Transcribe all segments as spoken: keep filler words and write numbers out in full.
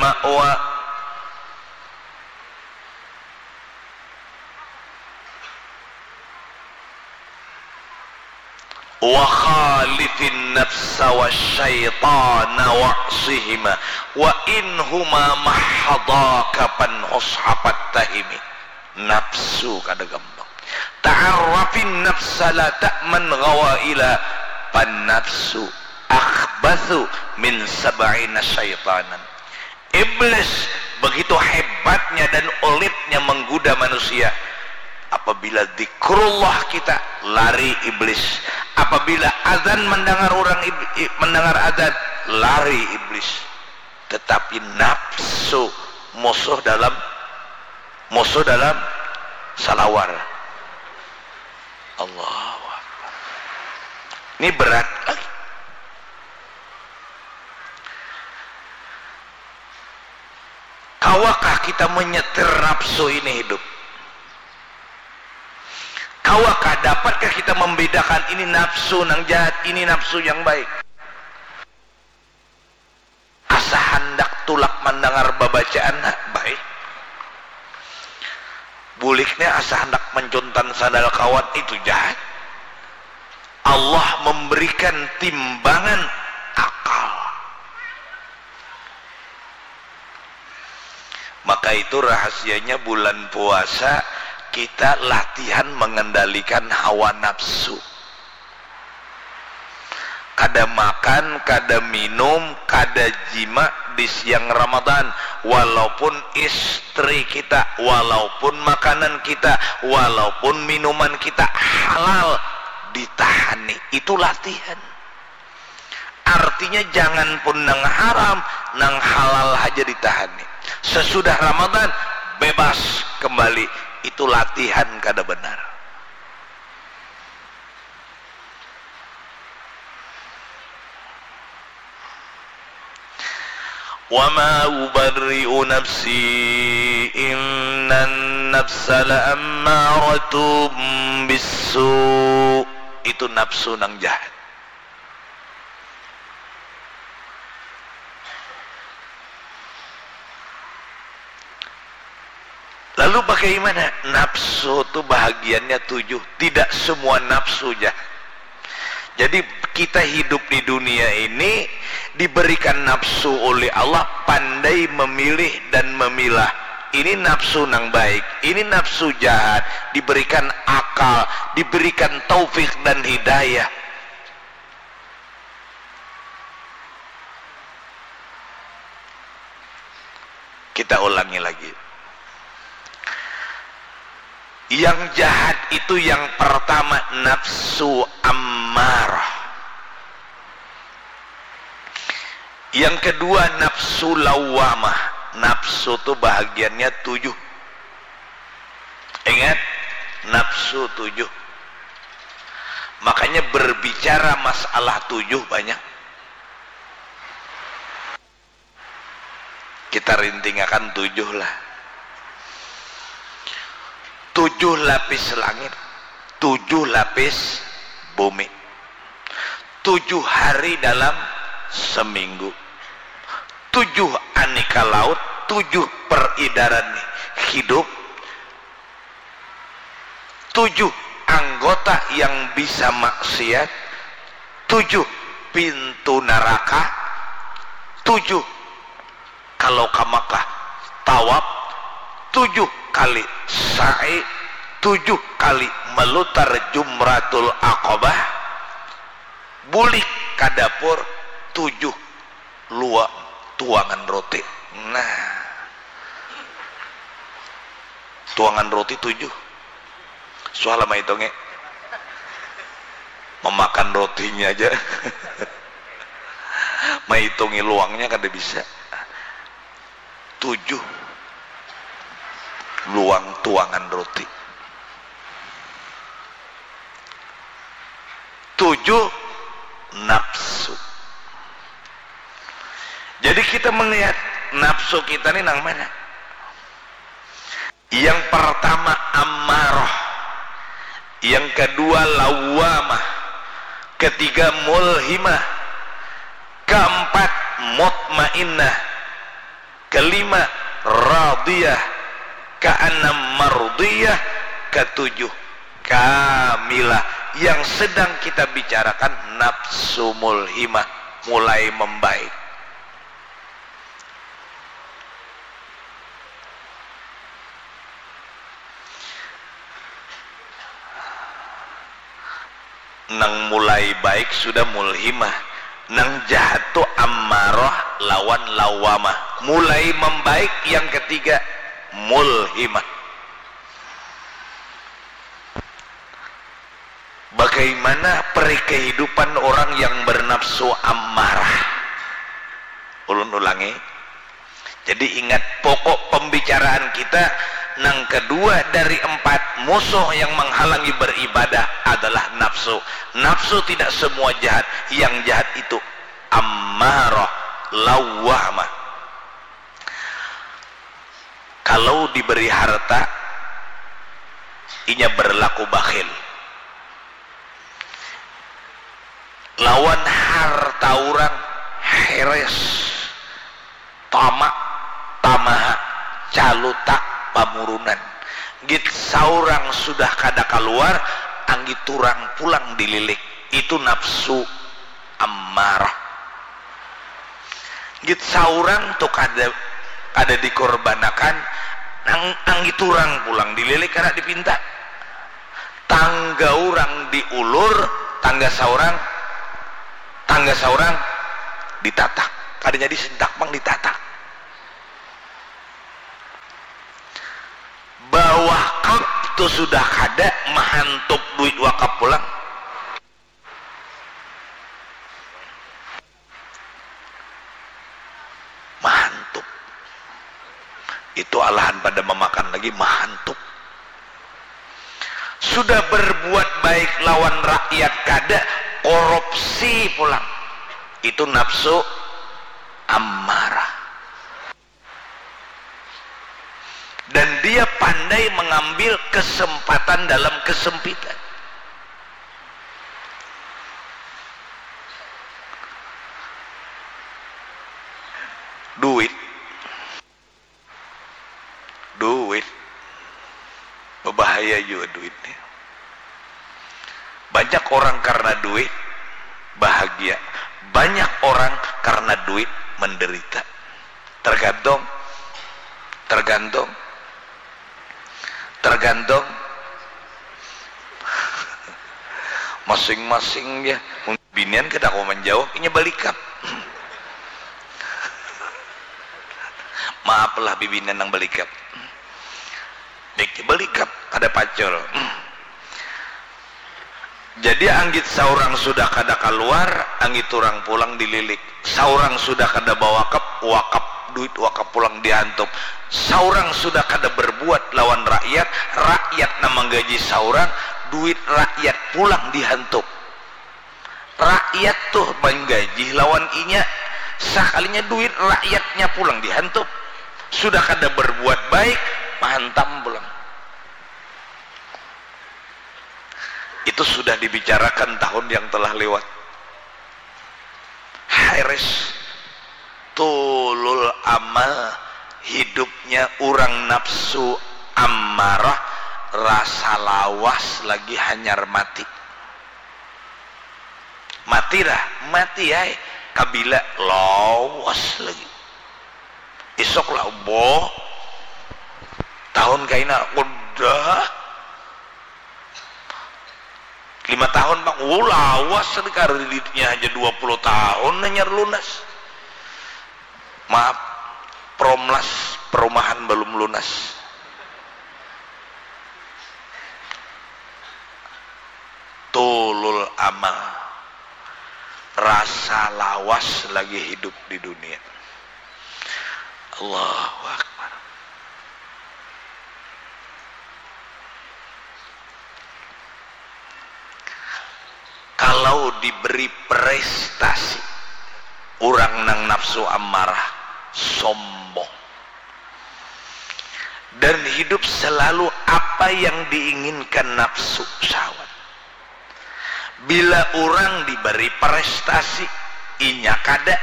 ma'wa. Wa khalifin nafsa wa syaitana wa'sihima wa inhuma mahadaka panhus hapat tahimi. Nafsu kada gampang. Ta'arrafin nafsa la ta'man ghawaila pan nafsu akhbathu min sab'ina syaitanan. Iblis begitu hebatnya dan ulitnya menggoda manusia. Apabila zikrullah kita, lari iblis. Apabila azan mendengar orang ib- mendengar azan, lari iblis. Tetapi nafsu musuh dalam musuh dalam salawar. Allahu Akbar. Ini berat lagi. Kawakah kita menyetir nafsu ini hidup? Kawakah, dapatkah kita membedakan ini nafsu nang jahat, ini nafsu yang baik? Asa handak tulak mandangar babacaan, ha, baik. Buliknya asa handak mencuntan sandal kawan, itu jahat. Allah memberikan timbangan akal. Maka itu rahasianya bulan puasa, kita latihan mengendalikan hawa nafsu. Kada makan, kada minum, kada jima di siang Ramadan, walaupun istri kita, walaupun makanan kita, walaupun minuman kita halal, ditahani. Itu latihan. Artinya jangan pun nang haram, nang halal haja ditahani. Sesudah Ramadan, bebas kembali. Itu latihan kada benar. Wa ma ubarri'u nafsi, innan nafsa la'ammaratum bissu. Itu nafsu nang jahat. Lalu bagaimana? Nafsu tu bahagiannya tujuh. Tidak semua nafsu jahat. Jadi kita hidup di dunia ini diberikan nafsu oleh Allah, pandai memilih dan memilah. Ini nafsu nang baik, ini nafsu jahat, diberikan akal, diberikan taufik dan hidayah. Kita ulangi lagi. Yang jahat itu yang pertama nafsu ammarah. Yang kedua nafsu lawamah. Nafsu tu bahagiannya tujuh. Ingat, nafsu tujuh. Makanya berbicara masalah tujuh banyak. Kita rintingakan tujuh lah. Tujuh lapis langit, tujuh lapis bumi, tujuh hari dalam seminggu, tujuh aneka laut, tujuh peredaran hidup, tujuh anggota yang bisa maksiat, tujuh pintu naraka, tujuh kalau ka Makkah tawaf, tujuh kali sa'i, tujuh kali melutar Jumratul Aqabah, bulik ka dapur, tujuh lua tuangan roti. Nah, tuangan roti tujuh. Suah lah maitungi. Memakan rotinya aja. Maitungi luangnya kada bisa. Tujuh luang tuangan roti. Tujuh nafsu. Jadi kita melihat nafsu kita ni nang mana? Yang pertama ammarah, yang kedua lawamah, ketiga mulhimah, keempat mutmainnah, Lima, radiyah. Keenam, mardiyah. Ketujuh, kamilah. Yang sedang kita bicarakan nafsu mulhimah, mulai membaik. Nang mulai baik sudah mulhimah. Nang jahat tu ammaroh lawan lawamah. Mulai membaik yang ketiga, mulhimah. Bagaimana peri kehidupan orang yang bernafsu ammarah? Ulun ulangi. Jadi ingat, pokok pembicaraan kita nang kedua dari empat musuh yang menghalangi beribadah adalah nafsu. Nafsu tidak semua jahat, yang jahat itu ammarah, lawamah. Kalau diberi harta, inya berlaku bakhil. Lawan harta urang, heres, tamak, tamaha, caluta, pamurunan. Git saurang sudah kada kaluar, anggit urang pulang dililik. Itu nafsu ammarah. Git saurang tu kada, kada dikorbanakan, nang anggit urang pulang dililik kada dipinta. Tangga urang diulur, tangga saurang, tangga saurang ditatak. Kada jadi sentak pang ditatak. Bawakap tu sudah kada, mahantup duit wakap pulang. Mahantup. Itu alahan pada mamakan lagi, mahantup. Sudah berbuat baik lawan rakyat kada, korupsi pulang. Itu nafsu ammarah. Dan dia pandai mengambil kesempatan dalam kesempitan. Duit. Duit. Berbahaya juga duit ni. Banyak orang karena duit bahagia. Banyak orang karena duit menderita. Tergantung, tergantung, tergantung masing-masing ya. Binian kada kawa manjawab, inya balikap. Maaf lah bibinian nang balikap. Balikap, kada pacul. Jadi anggit saurang sudah kada kaluar, anggit urang pulang dililik. Saurang sudah kada bawakap, wakap, duit wakap pulang dihantup. Saurang sudah kada berbuat lawan rakyat, rakyat nang manggaji saurang, duit rakyat pulang dihantup. Rakyat tuh manggaji lawan inya, sakalinya duit rakyatnya pulang dihantup. Sudah kada berbuat baik, mahantam pulang. Itu sudah dibicarakan tahun yang telah lewat. Hairis, tulul amal, hidupnya urang nafsu ammarah, rasa lawas lagi hanyar mati. Mati dah, mati ai. Kabila? Lawas lagi. Isuk lah, boh. Tahun kaina, udah. Lima tahun pang, oh, lawas ni, kreditnya haja dua puluh tahun hanyar lunas. Maaf, promlas perumahan balum lunas. Tulul amal, rasa lawas lagi hidup di dunia. Allahu Akbar. Kalau diberi prestasi, urang nang nafsu ammarah, sombong. Dan hidup selalu apa yang diinginkan nafsu syahwat. Bila urang diberi prestasi, inya kada,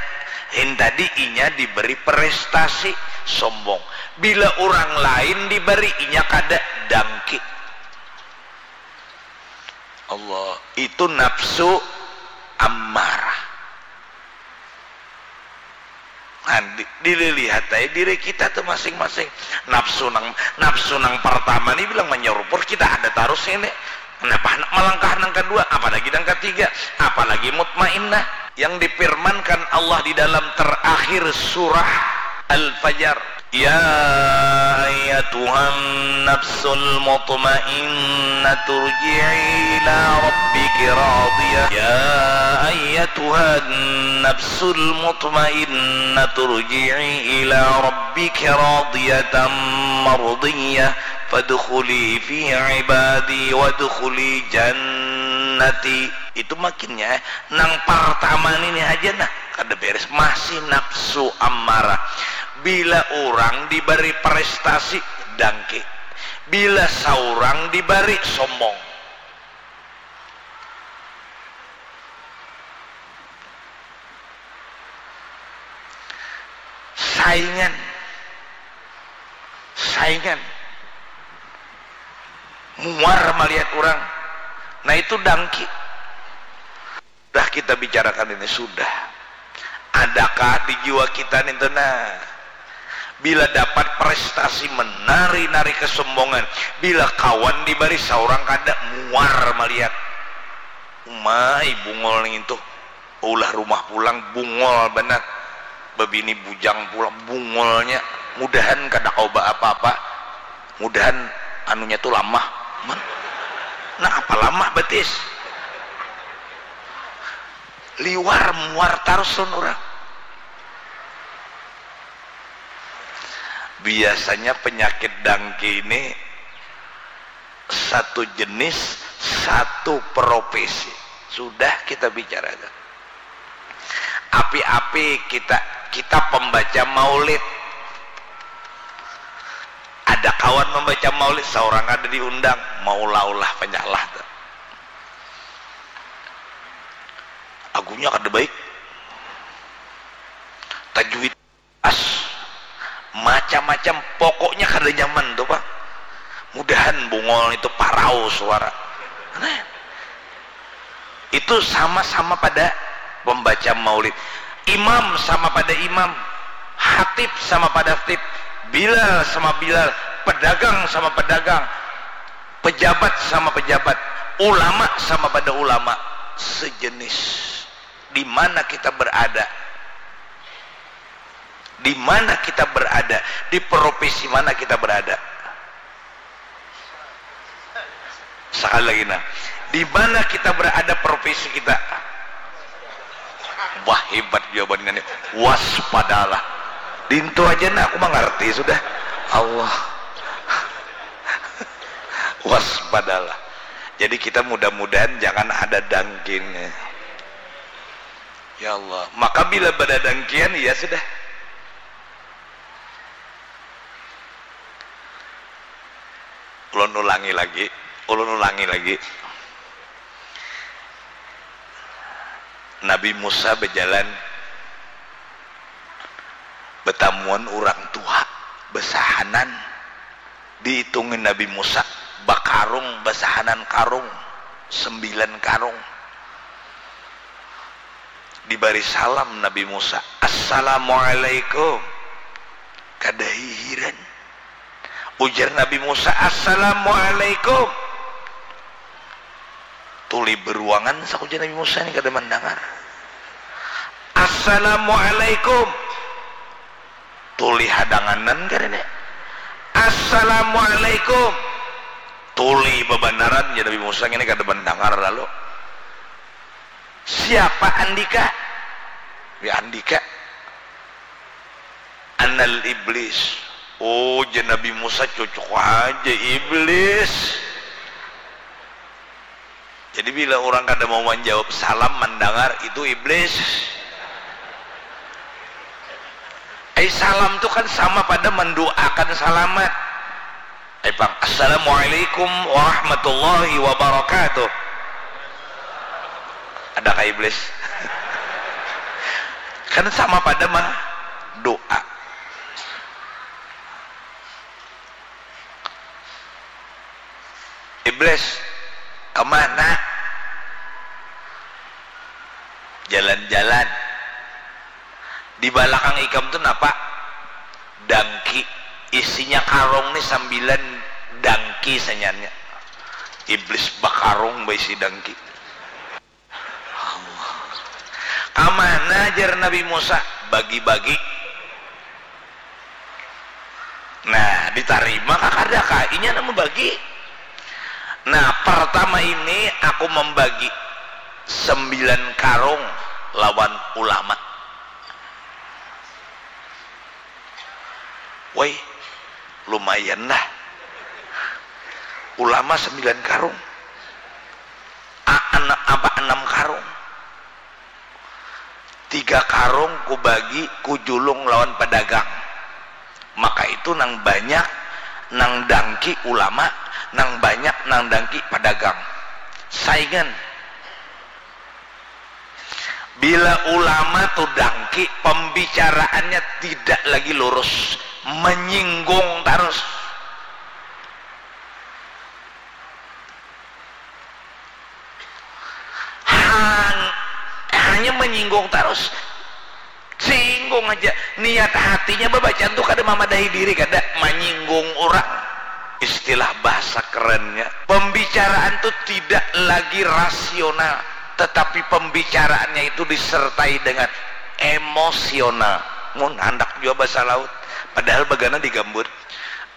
Lain tadi inya diberi prestasi, sombong. Bila urang lain dibari, inya kada, dangki. Allah, itu nafsu ammarah. Nah, di, dililihat aja diri kita tuh masing-masing. Nafsu nang, nafsu nang pertama nih bilang menyeruput, kita ada terus ini. Kenapa hendak melangkah nang kedua, apalagi nang ketiga, apalagi mutmainnah? Yang difirmankan Allah di dalam terakhir surah Al-Fajr, "Ya ayyatuhan nafsul mutmainnah turji'i ila rabbiki radiyah. Ya ayyatuhan nafsul mutmainnah turji'i ila rabbiki radiyatan mardiyah. Fadkhuli fi ibadi wadkhuli jannati." Itu makinnya, eh, nang pertama ini aja nah, kada beres, masih nafsu ammarah. Bila urang dibari prestasi, dangki. Bila saurang dibari, sombong. Saingan. Saingan. Muar melihat urang. Nah, itu dangki. Sudah kita bicarakan ini, sudah. Adakah di jiwa kita nih tuh, nah? Bila dapat prestasi menari-nari kesombongan, bila kawan dibari saurang kada, muar melihat. Umai bungul nih tuh. Ulah rumah pulang, bungul banar. Babini bujang pulang, bungulnya. Mudahan kada kawa baapa-apa. Mudahan anunya tu lamah. Man. Nah, apa lamah batis? Liwar, muar tarus lawan urang. Biasanya penyakit dangki ini satu jenis, satu profesi. Sudah kita bicarakan. Api-api kita, kita pembaca maulid. Ada kawan membaca maulid, saurang kada diundang, maulah-ulah panyalah tu. Lagunya kada baik. Tajwid. As, macam-macam, pokoknya kada nyaman tu pang. Mudahan bungul itu parau suara. Nah, itu sama-sama pada pembaca maulid. Imam sama pada imam, hatib sama pada hatib, bilal sama bilal, pedagang sama pedagang, pejabat sama pejabat, ulama sama pada ulama, sejenis. Di mana kita berada? Di mana kita berada? Di profesi mana kita berada? Sekali lagi, nah, di mana kita berada profesi kita? Wah, hebat jawabannya nih. Waspadalah. Dintu aja nah aku mengerti sudah. Allah. Waspadalah. Jadi kita mudah-mudahan jangan ada dangkinya. Ya Allah, maka bila badadangkian, ya sudah. Ulun ulangi lagi, ulun ulangi lagi. Nabi Musa bajalan, batamuan urang tuha, basahanan. Diitungi Nabi Musa, bakarung, basahanan karung, sembilan karung. Dibari salam Nabi Musa, "Assalamualaikum." Kada hihiran. Ujar Nabi Musa, "Assalamualaikum." Tuli beruangan, sak ujar Nabi Musa ni kada mandangar. "Assalamualaikum." Tuli hadanganan kada ni. "Assalamualaikum." Tuli babanaran, jar Nabi Musa, ngini kada mandangar lalu. "Siapa andika?" "Ya andika." "Anal iblis." "Oh," jar Nabi Musa, "cocok aja iblis." Jadi bila urang kada mau manjawab salam, mandangar, itu iblis. Ai salam tu kan sama pada manduakan salamat. Ai pang, "Assalamualaikum warahmatullahi wabarakatuh." Ada kah iblis? Kan sama pada mah doa. Iblis, kemana? Jalan-jalan. Di balakang ikam tu napa? Dangki. Isinya karung ni sambilan dangki sayannya. Iblis bakarung baisi dangki. Kamana jar Nabi Musa? Bagi-bagi. Nah, ditarima kah kada kah? Inya nang membagi. Nah, pertama ini aku membagi sembilan karung lawan ulama. Woi, lumayan lah. Ulama sembilan karung. A, ena, apa, enam karung. Tiga karung kubagi kujulung lawan pedagang. Maka itu nang banyak nang dangki ulama, nang banyak nang dangki pedagang. Saingan. Bila ulama tu dangki, pembicaraannya tidak lagi lurus, menyinggung terus. Hanya menyinggung terus. Singgung aja. Niat hatinya bebacaan tuh kada mamadahi diri, kada menyinggung orang. Istilah bahasa kerennya, pembicaraan tuh tidak lagi rasional, tetapi pembicaraannya itu disertai dengan emosional. Mun handak jua bahasa laut, padahal bagana digambut.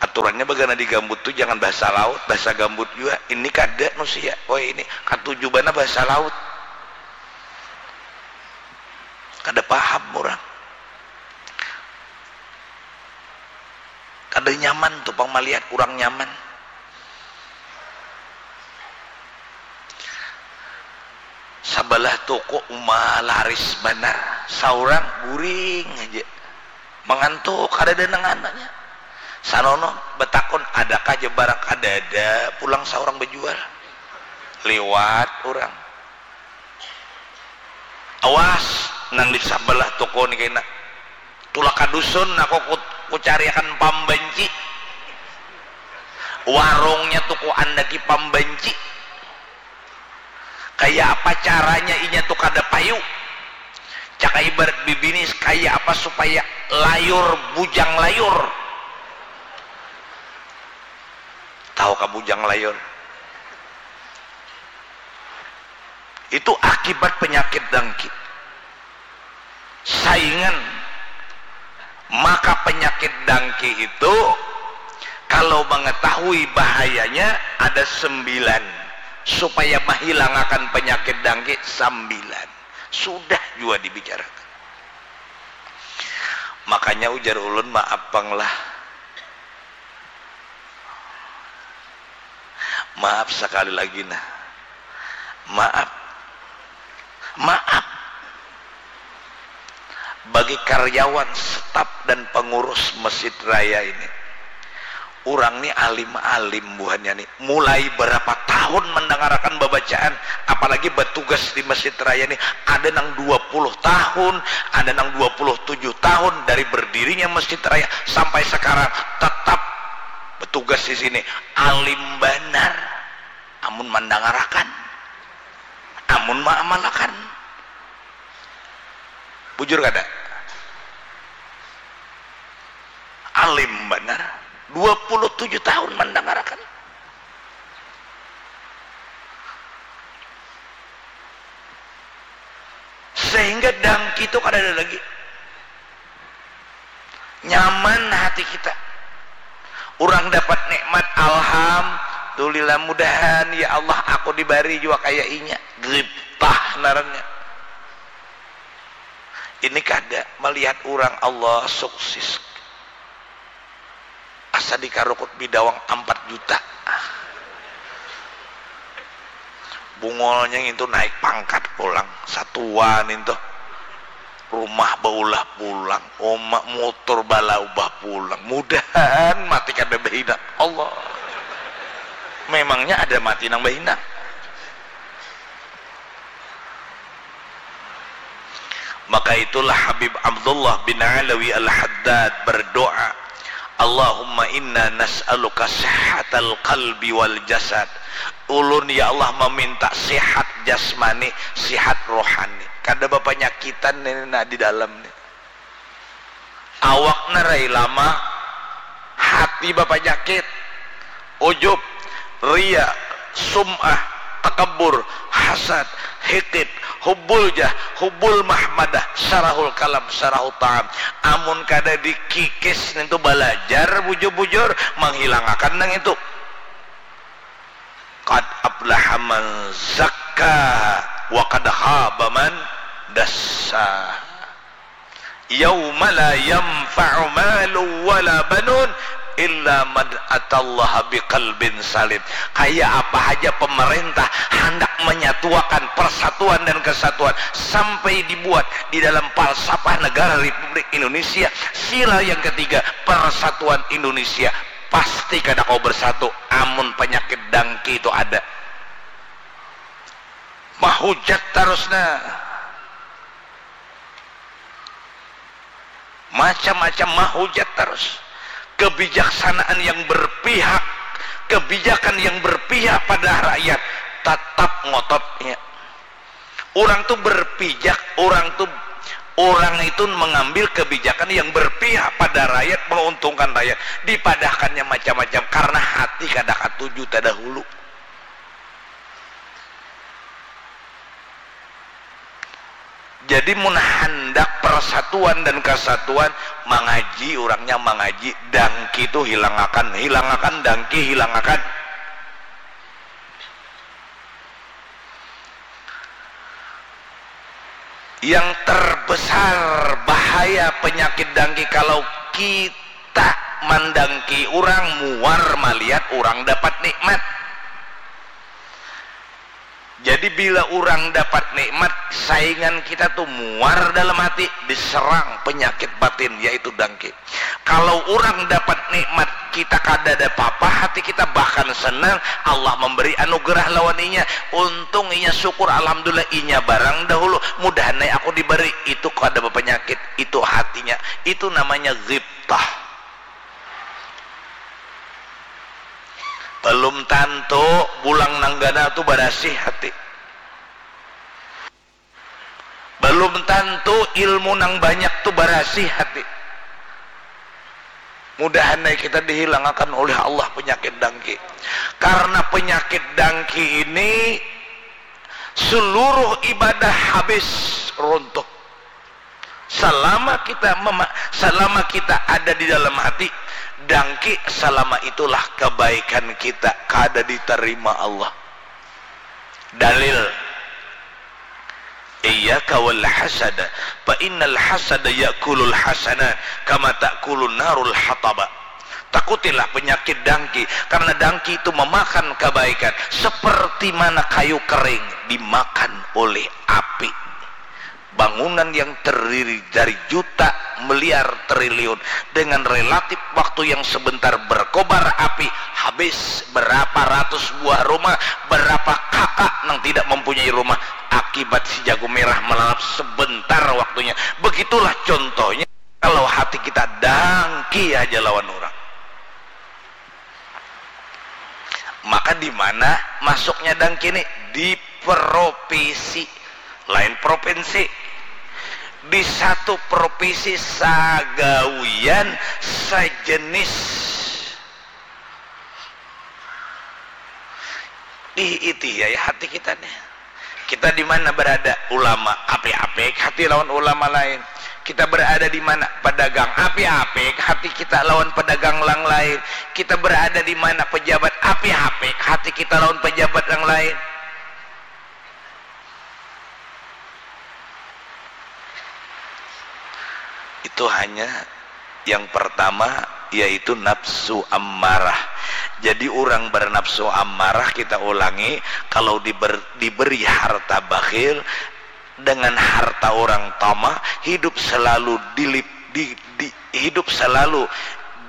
Aturannya bagana digambut tuh jangan bahasa laut, bahasa gambut jua. Ini kada nusia, oh ini katuju bana bahasa laut. Kada paham orang. Kada nyaman tu pang malihat urang nyaman. Sabalah toko uma laris banar, saurang guring haja. Mangantuk, kadada nang ananya. Sanono batakun, adakah ja barang? Kadada, pulang saurang bajual. Liwat urang. Awas nang di sabalah toko ni kaina. Tulak ka dusun aku ku, kucariakan pambanci. Warungnya tu kuandaki pambanci. Kaya apa caranya inya tu kada payu. Caka ibarat bibini kaya apa supaya layur bujang layur. Tahu ka bujang layur? Itu akibat penyakit dangki. Saingan. Maka penyakit dangki itu kalau mengetahui bahayanya ada sembilan. Supaya menghilangakan penyakit dangki sambilan. Sudah jua dibicarakan. Makanya ujar ulun maaf pang lah. Maaf sekali lagi nah. Maaf. Maaf. Bagi karyawan, staf dan pengurus Masjid Raya ini. Urang ni alim-alim buhannya ni. Mulai berapa tahun mendangarakan babacaan, apalagi batugas di Masjid Raya ni. Ada nang dua puluh tahun, ada nang dua puluh tujuh tahun dari berdirinya Masjid Raya sampai sekarang tetap batugas di sini. Alim banar. Amun mandangarakan, amun maamalakan. Bujur kada? Alim banar. Dua puluh tujuh tahun mandangarakan. Sehingga dangki tu kadada lagi. Nyaman hati kita. Urang dapat nikmat, alhamdulillah, mudahan ya Allah aku dibari jua kaya inya. Gibtah ngarannya. Ini kada malihat urang Allah suksis. Asa dikarukut bidawang ampat juta. Bungolnya ngintu naik pangkat pulang, satua nintu. Rumah baulah pulang, uma, motor balaubah pulang. Mudahan mati kada bahina. Allah. Memangnya ada mati nang bahina? Maka Itulah Habib Abdullah bin Alawi Al-Haddad berdoa, "Allahumma inna nas'aluka sihhatal qalbi wal jasad." Ulun, ya Allah, meminta sihat jasmani, sihat rohani. Kada bapanyakitan ini, nah, di dalam ni. Awaknya rai lama, hati bapanyakit, ujub, ria, sum'ah, takabur, hasad, hikid, hubbul jah, hubbul mahmadah, syarahul kalam, syarahul ta'am. Amun kada dikikis nintu balajar bujur-bujur, manghilangakan nang itu. Qad aflaha man zakkaha wa qad khaba man dassaha. Yauma la yanfa'u malun wala banun illa man atallaha biqalbin salim. Kaya apa haja pemerintah handak menyatuakan persatuan dan kesatuan sampai dibuat di dalam falsafah negara Republik Indonesia, sila yang ketiga, persatuan Indonesia, pasti kada kawa bersatu amun penyakit dangki itu ada. Mahujat tarus nah. Macam-macam mahujat tarus. Kebijaksanaan yang berpihak, kebijakan yang berpihak pada rakyat, tatap ngototnya. Urang tu berpijak, urang tu, urang itu mengambil kebijakan yang berpihak pada rakyat, menguntungkan rakyat, dipadahkannya macam-macam karena hati kada katuju tadahulu. Jadi mun handak persatuan dan kesatuan, mangaji, urangnya mangaji, dangki tu hilangakan, hilangakan dangki, hilangakan. Yang terbesar bahaya penyakit dangki kalau kita mandangki urang, muar malihat urang dapat nikmat. Jadi bila urang dapat nikmat, saingan kita tu muar dalam hati, diserang penyakit batin, yaitu dangki. Kalau urang dapat nikmat, kita kadada papa, hati kita bahkan senang, Allah memberi anugerah lawan inya, untung inya syukur, alhamdulillah, inya barang dahulu, mudahan ai aku diberi, itu kada bapanyakit, itu hatinya, itu namanya ghibtah. Belum tantu bulang nang ganal tu barasih hati. Belum tantu ilmu nang banyak tu barasih hati. Mudahan ai kita dihilangakan oleh Allah penyakit dangki. Karena penyakit dangki ini seluruh ibadah habis, runtuh. Selama kita mema-, selama kita ada di dalam hati, dangki, selama itulah kebaikan kita kada diterima Allah. Dalil, "Iyyaka wal hasada, fa innal hasada ya'kulul hasanat kama ta'kulun narul hataba." Takutilah penyakit dangki, karena dangki itu memakan kebaikan seperti mana kayu kering dimakan oleh api. Bangunan yang terdiri dari juta miliar triliun dengan relatif waktu yang sebentar berkobar api, habis berapa ratus buah rumah, berapa kakak nang tidak mempunyai rumah akibat si jago merah melalap sebentar waktunya. Begitulah contohnya kalau hati kita dangki aja lawan orang. Maka di mana masuknya dangki ini? Di provinsi, lain provinsi. Di satu provinsi sagawian sejenis. Diitihi ya hati kita nih. Kita di mana berada? Ulama, apik-apik hati lawan ulama lain. Kita berada di mana? Pedagang, apik-apik hati kita lawan pedagang yang lain. Kita berada di mana? Pejabat, apik-apik hati kita lawan pejabat yang lain. Itu hanya yang pertama, yaitu nafsu ammarah. Jadi, orang bernafsu ammarah, kita ulangi, kalau diber-, diberi harta bakhil, dengan harta orang tamak, hidup selalu dilip-, di, di, hidup selalu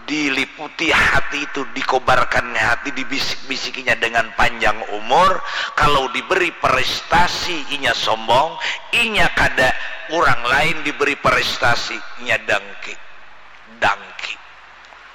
Diliputi hati itu, dikobarkan hati, dibisik-bisikinya dengan panjang umur. Kalau diberi prestasi, inya sombong, inya kada, urang lain diberi prestasi, inya dangki. Dangki.